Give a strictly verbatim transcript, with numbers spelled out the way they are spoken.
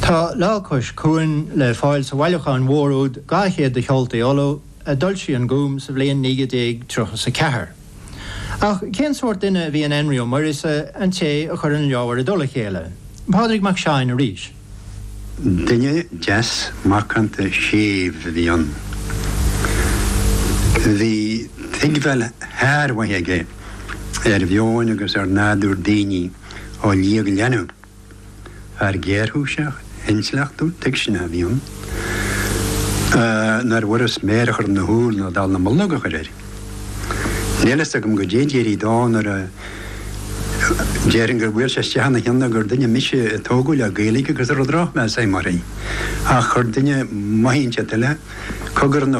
Tá Lá Cois Cuain le fáil sa bhailiúchán mhór úd dhá chéad de cheoltaí Uladh a d'fhoilsigh an Gúm sa bhliain naoi déag tríocha is a ceathair. Ach cén sórt duine a bhí in Énrí Ó Muiríosa, an té a chuir an leabhar i dtoll a chéile? Pádraig Mac Seáin arís. Duine deas macánta séimh a bhí ann. Bhí tuigbheáil shármhaith aige ar mheon agus ar nádúr daoine ó liagleanbh. Fear géarchúiseach, intleachtúil, tuigseanach a bhí ann, nár bhfuras méar a chur ina shúil ná dallamullóg a chur air. Níl fhios agam goidé d'éirigh dó nuair a déarfainn gur bhuail sé isteach ina cheann gur duine mise a tógadh le Gaeilge agus a raibh drochmheas agam uirthi. Ach chuir duine maith inteacht eile cogar ina